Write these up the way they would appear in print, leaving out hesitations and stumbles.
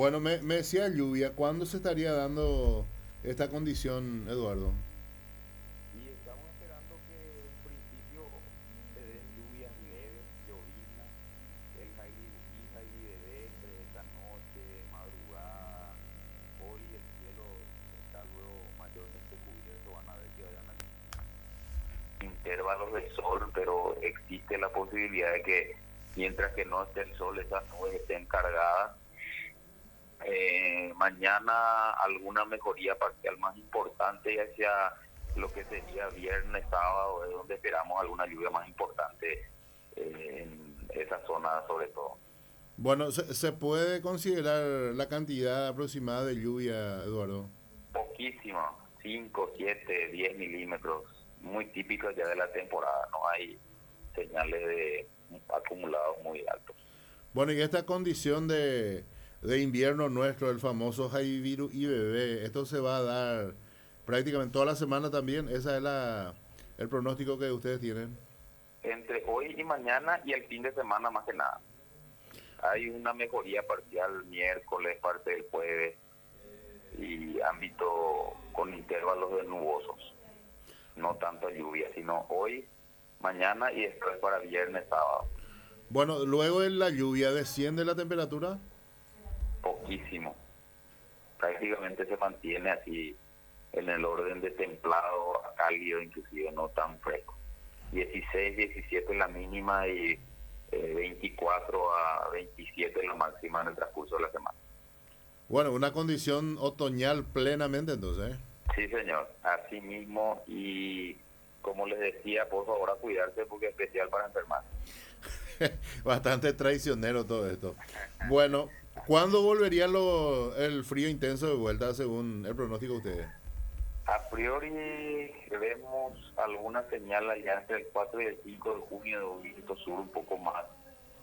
Bueno, me, me decía lluvia, ¿cuándo se estaría dando esta condición, Eduardo? Y estamos esperando que en principio se den lluvias leves, lloviznas, el Jairi Jairi entre esta noche, madrugada. Hoy el cielo está luego mayormente cubierto, van a ver que vayan a intervalos de sol, pero existe la posibilidad de que mientras que no esté el sol, esas nubes estén cargadas. Mañana alguna mejoría parcial más importante y hacia lo que sería viernes, sábado, es donde esperamos alguna lluvia más importante en esa zona sobre todo. Bueno, ¿se puede considerar la cantidad aproximada de lluvia, Eduardo? Poquísimo, 5, 7, 10 milímetros, muy típico ya de la temporada, no hay señales de acumulados muy altos. Bueno, y esta condición de invierno nuestro, el famoso Jaiviru IBB, esto se va a dar prácticamente toda la semana también, ¿esa es el pronóstico que ustedes tienen? Entre hoy y mañana y el fin de semana más que nada. Hay una mejoría parcial miércoles, parte del jueves y ámbito con intervalos de nubosos. No tanto lluvia, sino hoy, mañana y después para viernes, sábado. Bueno, luego de la lluvia, ¿desciende la temperatura? Poquísimo. Prácticamente se mantiene así en el orden de templado a cálido, inclusive no tan fresco. 16, 17 la mínima y 24 a 27 la máxima en el transcurso de la semana. Bueno, una condición otoñal plenamente entonces. Sí, señor, así mismo, y como les decía, por favor a cuidarse porque es especial para enfermar. Bastante traicionero todo esto. Bueno, ¿cuándo volvería el frío intenso de vuelta según el pronóstico de ustedes? A priori vemos alguna señal allá entre el 4 y el 5 de junio de un viento sur un poco más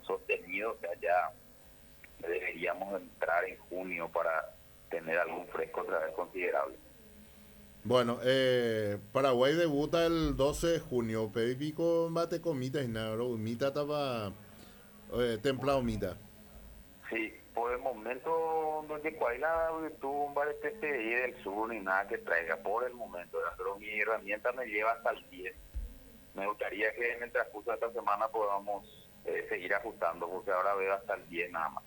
sostenido, o sea, ya deberíamos entrar en junio para tener algún fresco otra vez considerable. Bueno, Paraguay debuta el 12 de junio, pico mate comita y nada, mita estaba templado mita. Sí, por el momento donde cuál tuvo un bar PCI del sur ni nada que traiga, por el momento, pero mi herramienta me lleva hasta el 10. Me gustaría que en el transcurso de esta semana podamos seguir ajustando, porque ahora veo hasta el 10 nada más.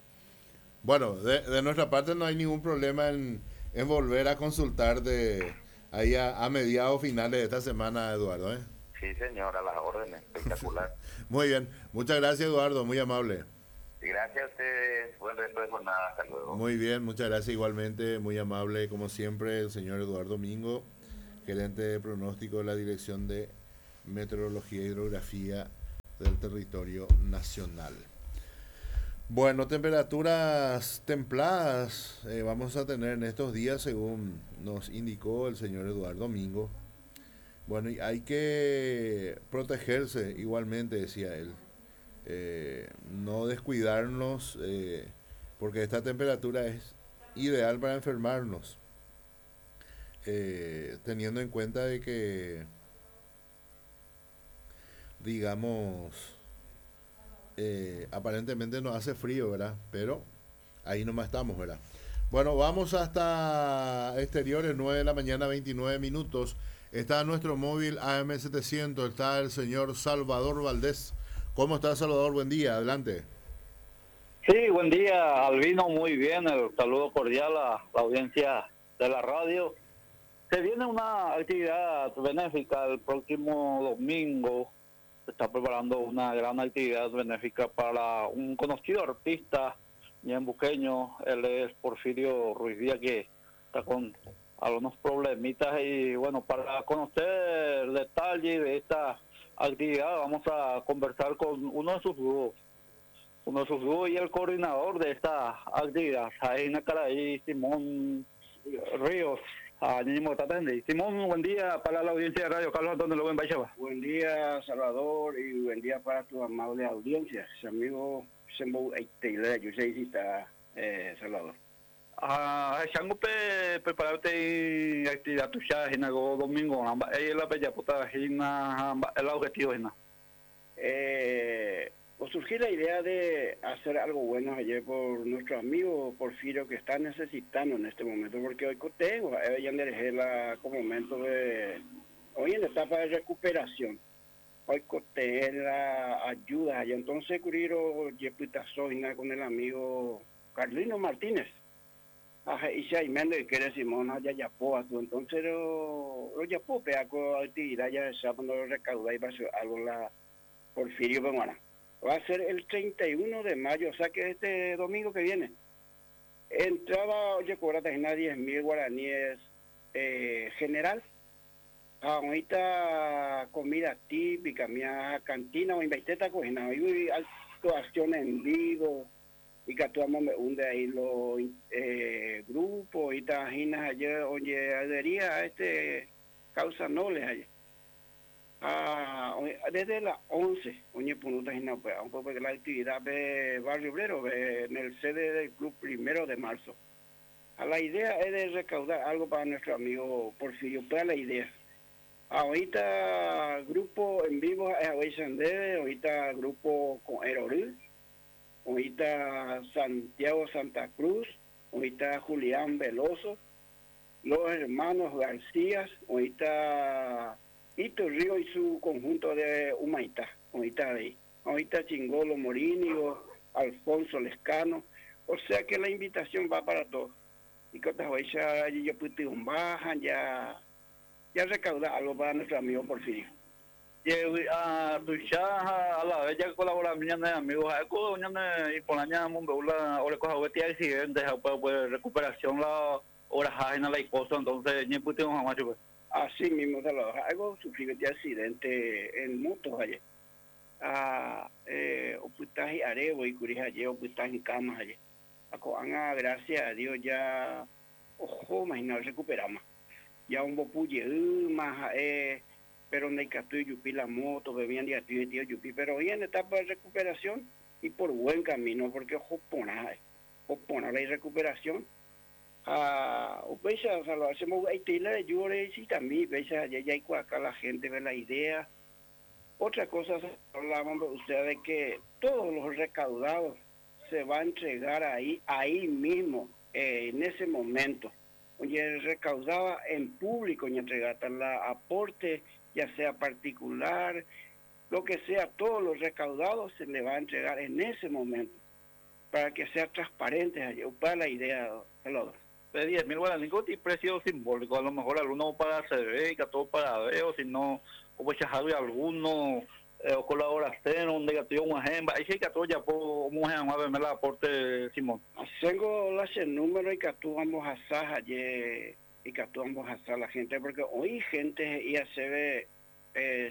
Bueno, de nuestra parte no hay ningún problema en volver a consultar de ahí a mediados finales de esta semana, Eduardo, ¿eh? Sí, señor, a las órdenes, espectacular. Muy bien, muchas gracias, Eduardo, muy amable. Gracias a ustedes, buen resto de jornada, hasta luego. Muy bien, muchas gracias igualmente, muy amable como siempre el señor Eduardo Mingo, gerente de pronóstico de la Dirección de Meteorología e Hidrografía del Territorio Nacional. Bueno, temperaturas templadas vamos a tener en estos días, según nos indicó el señor Eduardo Mingo. Bueno, y hay que protegerse igualmente, decía él. No descuidarnos, porque esta temperatura es ideal para enfermarnos, teniendo en cuenta de que, digamos, aparentemente no hace frío, ¿verdad? Pero ahí nomás estamos, ¿verdad? Bueno, vamos hasta exteriores, 9 de la mañana, 29 minutos. Está nuestro móvil AM700, está el señor Salvador Valdés. ¿Cómo está, Salvador? Buen día, adelante. Sí, buen día, Albino, muy bien. El saludo cordial a la audiencia de la radio. Se viene una actividad benéfica el próximo domingo. Se está preparando una gran actividad benéfica para un conocido artista ñembuqueño, él es Porfirio Ruiz Díaz, que está con algunos problemitas y bueno, para conocer el detalle de esta actividad vamos a conversar con uno de sus dúos, y el coordinador de esta actividad, Jaina Caraí, Simón Ríos. Simón, buen día para la audiencia de Radio Carlos Antonio López Baixaba. Buen día, Salvador, y buen día para tu amable audiencia. Su amigo Salvador. Chango prepararte actividad tuya en el domingo, la bella puta el objetivo. Surgió la idea de hacer algo bueno ayer por nuestro amigo Porfirio, que está necesitando en este momento, porque hoy tengo, ya la como momento de, hoy en etapa de recuperación, hoy la ayuda, y entonces Curiro Yepitazoina con el amigo Carlino Martínez, y si hay menos que Simón ya ya entonces lo ya peaco actividad ya se cuando recauda y va a ser algo la Porfirio Pemuana. Va a ser el 31 de mayo, o sea que este domingo que viene. Entrada, oye, cobra 10.000 guaraníes general. Ahorita comida típica, mía cantina o invaiteta cocina, hoy actuación en vivo y que actuamos de ahí los grupos y tajinas ayer, oye, adhería a este causa noble ayer. Desde las 11, oye, pues, la actividad de Barrio Obrero, en el sede del club 1 de marzo. A la idea es de recaudar algo para nuestro amigo Porfirio, pues la idea. Ahorita grupo en vivo es ahorita grupo con Eroril, ahorita Santiago Santa Cruz, ahorita Julián Veloso, los hermanos García, ahorita Ito Río y su conjunto de Humaitá, ahorita de ahí, ahorita Chingolo Morínigo, Alfonso Lescano, o sea que la invitación va para todos. Y que otras veces yo bajan, ya recauda algo para nuestro amigo Porfirio. Y a tu a la vez ya colabora mi amigos, y por año la accidentes, pues recuperación la hora la y cosa, entonces ni jamás pues. Así mismo, algo sufrió de accidente en moto ayer. Oputaje arevo y curija ayer, oputaje en camas ayer. Acoanga, gracias a Dios ya, ojo, imagina, recuperamos. Ya un bopuye, más, pero no hay que yupi la moto, bebían de tío yupi, pero hoy en etapa de recuperación y por buen camino, porque ojo, pona la recuperación. O lo hacemos también, ya hay acá la gente ve la idea. Otra cosa, hablábamos ustedes de que todos los recaudados se va a entregar ahí mismo, en ese momento. Oye, recaudaba en público y entregar la aporte, ya sea particular, lo que sea, todos los recaudados se le va a entregar en ese momento, para que sea transparente, para la idea, Salvador. De 10.000 guaraníes y precio simbólico, a lo mejor alguno para CB, y todo para B, o si no, o pues alguno, o colaboración, un negativo, un agenda, ahí sí que todo ya puedo, un a ver, el aporte, Simón. Tengo el número y que tú vamos a hacer y que tú vamos a hacer la gente, porque hoy gente ya se ve,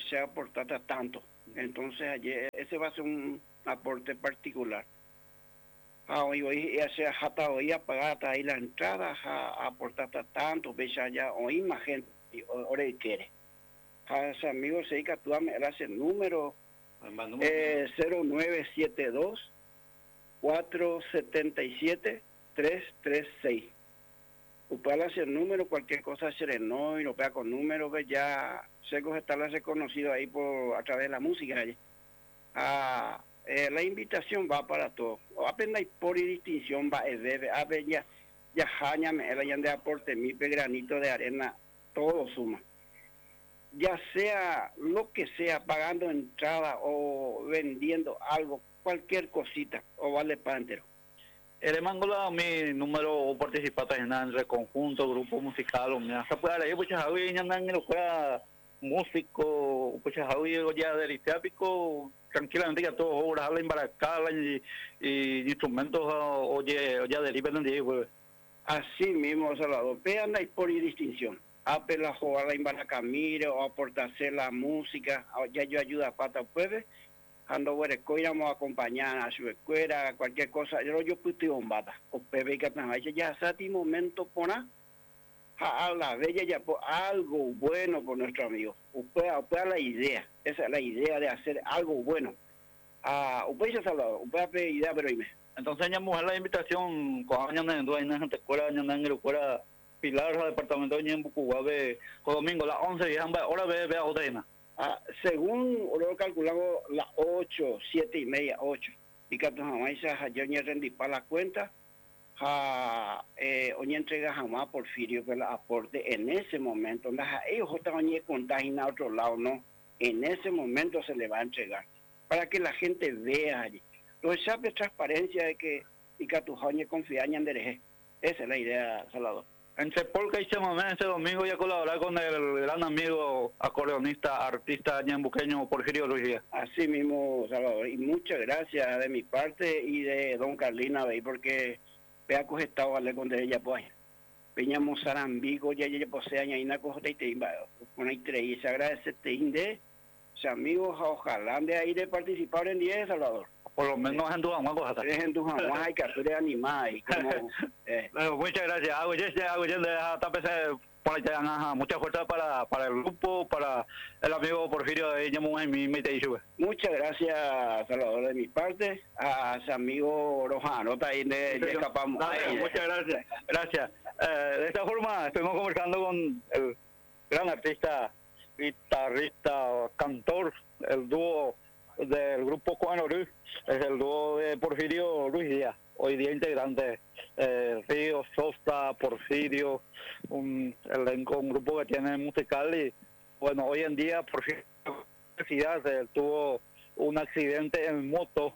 se aportata tanto, entonces ayer ese va a ser un aporte particular. Hoy ya sea hasta hoy apagada ahí la entrada, aportata tanto, ves ya hoy más gente, y ahora quiere. A ese amigo se que tú me das el número 0972 477 336. Usted hace el número, cualquier cosa se le no y lo pega con número, ve ya sé que está reconocido ahí por a través de la música. La invitación va para todos. Apenas hay por distinción va debe a ver ya ya jaña me el de aporte mi granito de arena, todo suma. Ya sea lo que sea, pagando entrada o vendiendo algo, cualquier cosita, o vale para entero. El mango mi número o participante en el conjunto, grupo musical, o mira, se puede leer, pues Javi, ya andan en lo músico, pues Javi, ya del teápico, tranquilamente ya todo obras, habla embaracada y instrumentos, oye, ya derivan de ahí, pues. Así mismo, Salvador, vean ahí por distinción. Apela jugar la embaracamire o aportarse la música, ya yo ayuda a pata puede, ando íbamos a acompañar a su escuela, cualquier cosa, yo puse un bata, o bebé que ya sati momento pona, a la bella ya por algo bueno por nuestro amigo, usted la idea, esa es la idea de hacer algo bueno. Usted ya Salvador, usted idea pero dime. Entonces ya mujer la invitación con años en escuela, en escuela Pilar, departamento de Ñembucuá, domingo a las 11 y ahora ve a otra. Ah, según lo calculamos las 8, 7:30, 8. Y que se oñerrendipa la cuenta, ha eh, entrega jamás Porfirio que la aporte en ese momento. Ellos están a otro lado, no. En ese momento se le va a entregar para que la gente vea allí. Entonces, sabe transparencia de que y que tu confía en Esa es la idea, Salvador. En Sepolca y ese domingo ya colaborar con el gran amigo acordeonista, artista ñambuqueño Porfirio Ruiz Díaz. Así mismo, Salvador. Y muchas gracias de mi parte y de don Carlina, porque vea que estado con ella pues. Peña Mozarambico, ya ya posee añadina cosa y te con ahí tres se agradece te inde, amigos, ojalá de ahí de participar en 10, Salvador. Por lo menos en tu cosa. En tu hay que hacer animar y como, Bueno, muchas gracias. Mucha fuerza para, para el grupo, para el amigo Porfirio de Muchas gracias, Salvador, de mi parte. A su amigo Rojano, ahí de, escapamos. Muchas gracias. Gracias. De esta forma, estuvimos conversando con el gran artista, guitarrista, cantor, el dúo del grupo Juan Ruiz, es el dúo de Porfirio Ruiz Díaz, hoy día integrante, Río, Sosa, Porfirio, un elenco, un grupo que tiene musical y bueno, hoy en día Porfirio tuvo un accidente en moto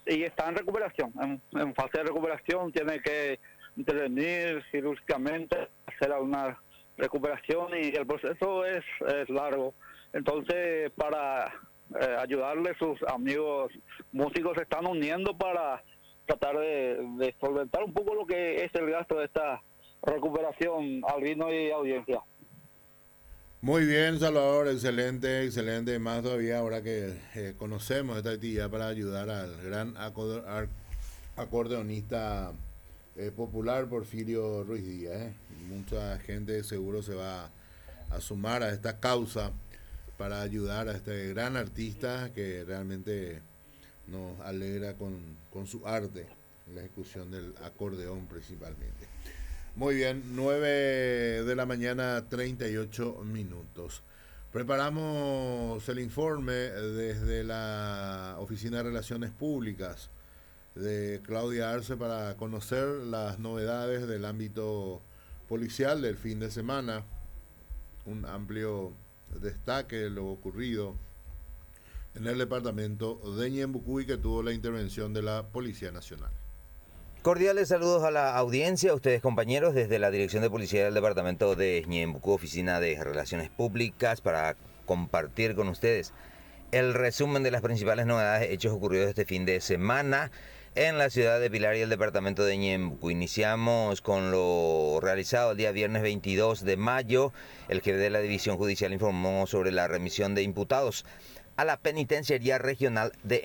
y está en recuperación, en fase de recuperación, tiene que intervenir quirúrgicamente, hacer alguna recuperación y el proceso es largo. Entonces, para ayudarle, sus amigos músicos se están uniendo para tratar de solventar un poco lo que es el gasto de esta recuperación, Albino y audiencia. Muy bien, Salvador, excelente, excelente. Más todavía ahora que conocemos esta actividad para ayudar al gran acordeonista popular Porfirio Ruiz Díaz. Mucha gente seguro se va a sumar a esta causa para ayudar a este gran artista que realmente nos alegra con su arte, la ejecución del acordeón principalmente. Muy bien, 9 de la mañana, 38 minutos. Preparamos el informe desde la Oficina de Relaciones Públicas de Claudia Arce para conocer las novedades del ámbito policial del fin de semana. Un amplio destaque de lo ocurrido en el departamento de Ñembucú que tuvo la intervención de la Policía Nacional. Cordiales saludos a la audiencia, a ustedes compañeros, desde la Dirección de Policía del Departamento de Ñembucú, Oficina de Relaciones Públicas, para compartir con ustedes el resumen de las principales novedades, hechos ocurridos este fin de semana en la ciudad de Pilar y el departamento de Ñembucú. Iniciamos con lo realizado el día viernes 22 de mayo. El jefe de la División Judicial informó sobre la remisión de imputados a la Penitenciaría Regional de